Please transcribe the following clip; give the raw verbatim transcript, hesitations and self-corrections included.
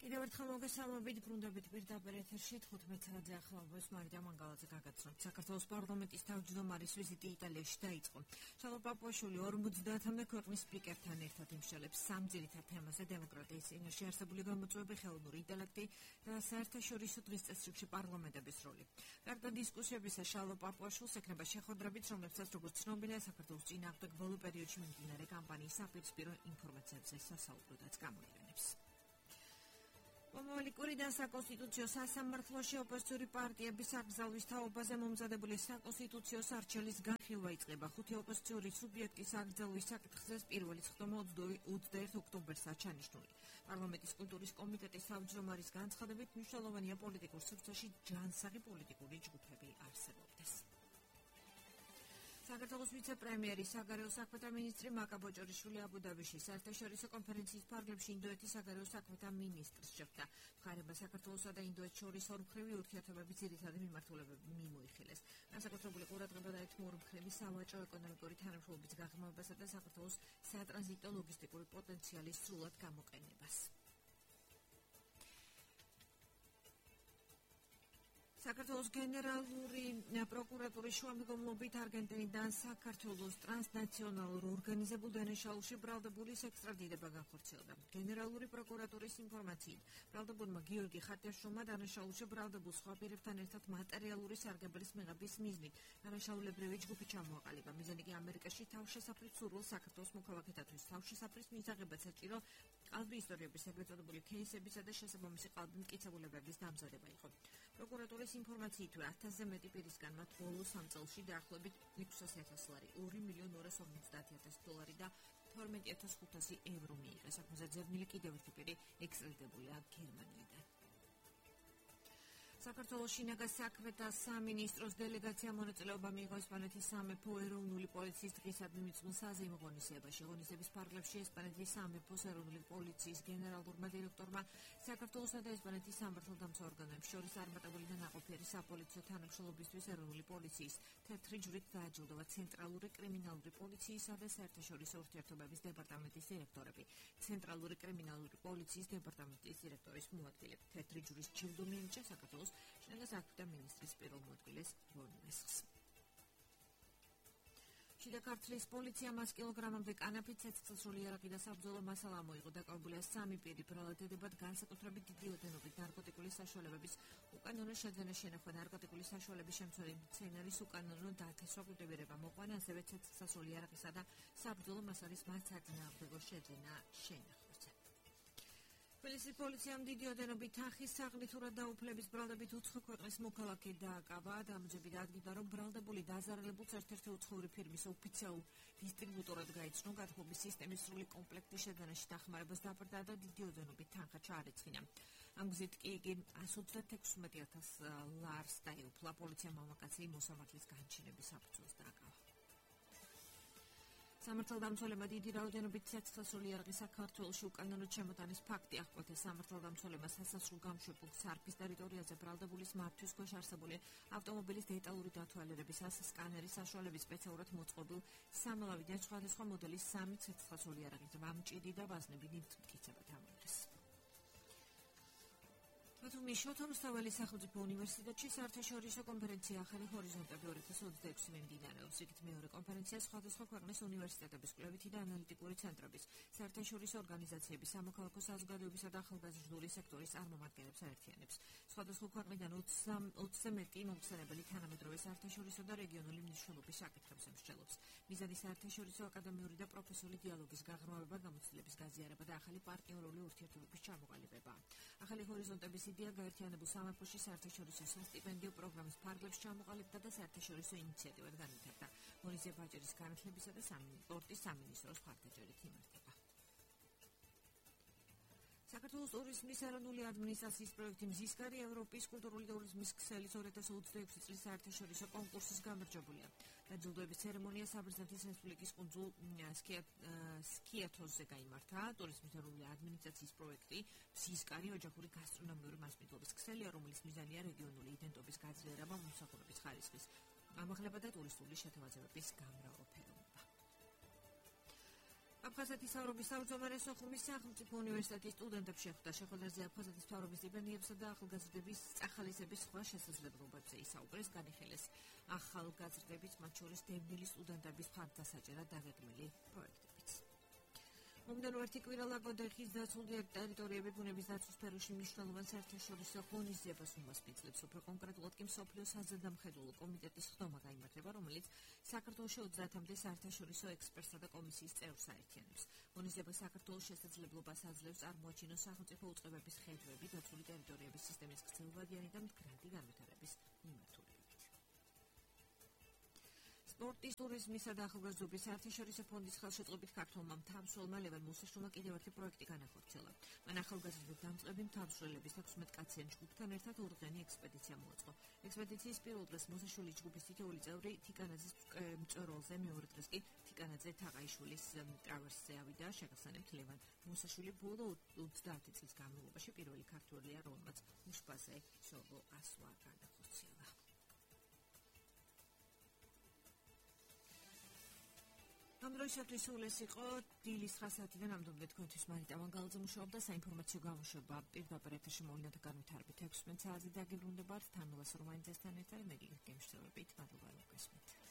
კიდევ ერთხელ მოგესალმებით, ბრუნდებით პირდაპირ ეთერში თხუთმეტ საათზე ახალბოს მარიდა მანგალაძე გაგაცნობთ. საქართველოს პარლამენტის თავმჯდომარის ვიზიტი იტალიაში დაიწყო. შალო პაპუაშვილი ორმოცდაათამდე ქვეყნის სპიკერთან ერთად იმშელებს სამ ძირითად თემაზე: დემოკრატიის წინაშე არსებული გამოწვევები, ხელოვნური ინტელექტი და საერთაშორისო დღის წესრიგში პარლამენტების როლი. გარდა დისკუსიებისა, შალო პაპუაშვილს ექნება შეხვედრებით, რომლებსაც როგორც ცნობილია, საქართველოს წინააღმდეგ ბოლო პერიოდში მიმდინარე კამპანიის საპირისპირო ინფორმაციებზე სასაუბროდაც გამოიყენებს. მომავალი კვირიდან საკონსტიტუციო სასამართლოში ოპოზიციური პარტიების აკრძალვის თაობაზე მომზადებული საკონსტიტუციო სარჩელის განხილვა იწყება. ხუთი ოპოზიციური სუბიექტის აკრძალვის საკითხზე პირველი წვდომა ოცდაერთი ოქტომბერს ჩანიშნული. პარლამენტის კულტურის კომიტეტის თავმჯდომარის განცხადებით, მნიშვნელოვანია პოლიტიკურ სივრცეში ჯანსაღი პოლიტიკური ჯგუფები არსებობდეს. საქართველოს ვიცე-პრემიერი, საგარეო საქმეთა მინისტრი მაკა ბოჭორიშვილი აბუ-დაბიში საერთაშორისო კონფერენციის ფარგლებში ინდოეთის საგარეო საქმეთა მინისტრს შეხვდა. მხარეებმა საქართველოსა და ინდოეთს შორის ორმხრივი ურთიერთობების ძირითადი მიმართულებები მიმოიხილეს. განსაკუთრებული ყურადღება დაეთმო ორმხრივი სავაჭრო-ეკონომიკური თანამშრომლობის გაღრმავებასა და საქართველოს სატრანზიტო ლოგისტიკური პოტენციალის სრულად გამოყენებას. საქართველოს გენერალური პროკურატურის შუამდგომლობით არგენტინიდან საქართველოს ტრანსნაციონალურ ორგანიზებულ დანაშაულში ბრალდებულის ექსტრადირება განხორციელდა. გენერალური პროკურატურის ინფორმაციით, ბრალდებულმა გიორგი ხატიაშვილმა დანაშაულში ბრალდებულ სხვა პირებთან ერთად მატერიალური სარგებლის მიღების მიზნით დანაშაულებრივი ჯგუფი ჩამოაყალიბა. მიზანი კი ამერიკაში თავშესაფრის სურვილს საქართველოს მოქალაქეთათვის თავშესაფრის მისაღებად საჭირო ყალბი ისტორიების ეგრეთ წოდებული кейსებისა და შესაბამისი ყალბი მტკიცებულებების დამზადება იყო. პროკურატურის ინფორმაციით, ათასზე მეტი პირისგან მათ ბოლო სამ წელში დაახლოებით ექვსასი ათასი ლარი, ორი მილიონი ორასი ორმოცდაათი ათასი დოლარი და თორმეტი ათას ხუთასი ევრო მიიღეს. საქმეზე ძებნილი კიდევ ერთი პირი ექსტრადირებულია გერმანიიდან. საქართველოს შინაგან საქმეთა სამინისტროს დელეგაცია მონაწილეობა მიიღო ესპანეთის სამეფო ეროვნული პოლიციის დღისადმი მიწმულ საზეიმო ღონისძიებაში. ღონისძიების ფარგლებში ესპანეთის სამეფოს ეროვნული პოლიციის გენერალურმა დირექტორმა საქართველოსა და ესპანეთის სამართალდამცავ ორგანოებს შორის წარმატებული და ნაყოფიერი საპოლიციო თანამშრომლობისთვის ეროვნული პოლიციის თეთრი ჯვრით დააჯილდოვა ცენტრალური კრიმინალური პოლიციისა და საერთაშორისო ურთიერთობების დეპარტამენტის დირექტორები, ცენტრალური კრიმინალური პოლიციის დეპარტამენტის დირექტორის მოადგილე. თეთრი ჯვრის ჯილდო მიენიჭა საქართველოს შინაგან საქმეთა მინისტრის პირველ მოადგილეს რონმესხს. შიდა ქართლის პოლიციამ ას კილოგრამამდე კანაფით, ცეცხლსასროლი იარაღი და საბრძოლო მასალა მოიღო. დაკავებულია სამი პირი, ბრალდებად განსაკუთრებით დიდი ოდენობით ნარკოტიკული საშუალებების უკანონო შეძენა, შენახვა, ნარკოტიკული საშუალების შემცველი მცენარის უკანონო დათესვა კულტივირება მოყვანა, ასევე ცეცხლსასროლი იარაღისა და საბრძოლო მასალის მათ საწინააღმდეგო შეძენა, შენახვაზე. თბილისის პოლიციამ დიდი ოდენობით თანხის საღლითურად დაუფლების ბრალდებით უცხო ქვეყნის მოქალაქე დააკავა. დამჯები დადგინდა, რომ ბრალდებული დაზარალებულს ერთ-ერთი უცხოური ფირმის ოფიციალურ დისტრიბუტორად გაიცნო. გათხოვების სისტემის სრული კომპლექტის შეძენაში დახმარებას დაბრძდა და დიდი ოდენობით თანხა ჩაარეცხინა. ამ გზით კი იგი ას ოცდაათი ათას ლარს დაეუფლა. პოლიციამ მამაკაცი მოსამართლის განჩინების საფუძველს დააკავა. სამართალდამცველებმა დიდი რაოდენობით ცეცხლსასროლი იარაღი საქართველოში უკანონოდ შემოტანის ფაქტი აღკვეთა. სამართალდამცველებმა სასასრულო გამშვებულ სარფის ტერიტორიაზე ბრალდებულის მართვის ქვეშ არსებული ავტომობილის დეტალური დათვალიერებისას სკანერის საშუალებით სპეციალურად მოწყობილ სამლავიდან სხვადასხვა მოდელის სამი ცეცხლსასროლი იარაღი, მჭიდი და ვაზნები მტკიცებად ამოიღეს. ბათუმის შოთა რუსთაველის სახელმწიფო უნივერსიტეტში საერთაშორისო კონფერენცია ახალი ჰორიზონტები ორი ათას ოცდაექვსი მიმდინარეობს. იქით მეორე კონფერენცია სხვადასხვა ქვეყნის უნივერსიტეტების, კვლევითი და ანალიტიკური ცენტრების, საერთაშორისო ორგანიზაციების, სამოქალაქო საზოგადოებისა და ახალგაზრდული სექტორის წარმომადგენლებს აერთიანებს. სხვადასხვა ქვეყნიდან ოცზე მეტი მომხსენებელი თანამედროვე საერთაშორისო და რეგიონული მნიშვნელობის საკითხებს ემსჯელობს. მიზანი საერთაშორისო აკადემიური და პროფესიული დიალოგის გაღრმავება, გამოცდილების გაზიარება და ახალი პარტნიორული ურთიერთობების ჩამოყალიბება. ახალი ჰორიზონტების იდეა გაერთიანებულ სამეფოში საერთაშორისო სასტიპენდიო პროგრამის ფარგლებში ჩამოყალიბდა და საერთაშორისო ინიციატივად განვითარდა. ღონისძიება აჭარის განათლებისა და სპორტის სამინისტროს მხარდაჭერით იმართება. საქართველოს ტურიზმის ეროვნული ადმინისტრაციის პროექტი მზისკარი ევროპის კულტურული ტურიზმის ქსელის ორი ათას ოცდაექვსი წლის საერთაშორისო კონკურსის გამარჯვებულია. დაჯილდოების ცერემონია საბერძნეთის რესპუბლიკის კუნძულ სკიათოსზე გაიმართა. ტურიზმის ეროვნული ადმინისტრაციის პროექტი მზისკარი ოჯახური გასტრონომიური მასპინძლობის ქსელია, რომლის მიზანია რეგიონული იდენტობის გაძლიერება, მომსახურების ხარისხის ამაღლება და ტურისტული შეთავაზებების გამრავალფეროვნება. აფხაზეთის მთავრობის თავმჯდომარე სოხუმის სახელმწიფო უნივერსიტეტის სტუდენტებს შეხვდა შეხვედრაზე აფხაზეთის მთავრობის სტიპენდიებსა და ახალგაზრდების წახალისების სხვა შესაძლებლობებზე ისაუბრეს, განიხილეს ახალგაზრდებით, მათ შორის დევნილი სტუდენტების მხარდასაჭერად დაგეგმილი პროექტებიც. მომდევნო ერთი კვირა ლაგოდეხის დაცული ტერიტორიები ბუნების დაცვის სფეროში მნიშვნელოვან საერთაშორისო ღონისძიებას უმასპინძლებს. უფრო კონკრეტულად კი მსოფლიოს საზედამხედველო კომიტეტის ხდომა გაიმართება, რომელიც საქართველოში ოცდაათამდე საერთაშორისო ექსპერტსა და კომისიის წევრს აერთიანებს. ღონისძიება საქართველოს შესაძლებლობას აძლევს წარმოაჩინოს სახელმწიფო უწყებების ხედვები დაცული ტერიტორიების სისტემის გრძელვადიანი და მდგრადი განვითარების მიმართულებით. სპორტის, ტურიზმისა და ახალგაზრდობის საერთაშორისო ფონდის ხელშეწყობით ქართველმა მთავრშოლმა ლევან მუსაშვილმა კიდევ ერთი პროექტი განახორციელა. მან ახალგაზრდულ დამწყები მთავრშოლების ათორმეტ კაციან ჯგუფთან ერთად ორდღიანი ექსპედიცია მოაწყო. ექსპედიციის პირველ დღეს მუსაშვილის ჯგუფის თითოეული წევრი თიკანაძის მწვერვალზე, მეორე დღეს კი თიკანაძე თაყაიშვილის ტრავერსზე ავიდა. შეგახსენებთ, ლევან მუსაშვილი ბოლო ოცდაათი წლის განმავლობაში პირველი ქართველია, რომელმაც უშბაზე სოლო ასვლა განახორციელა. ამ დროისათვის სულ ეს იყო დილის ცხრა საათიდან ამდომდე თქვენთვის მარიტა ვანგალაძე მუშაობდა საინფორმაციო გამოშვება პირდაპირ ეთერში მოვლენათა განვითარებით ექვსმეტ საათზე დაგიბრუნდებათ თანმოვას რომანიძესთან ერთად მე გიგ გემშვიდობით მადლობა რომ გესმით.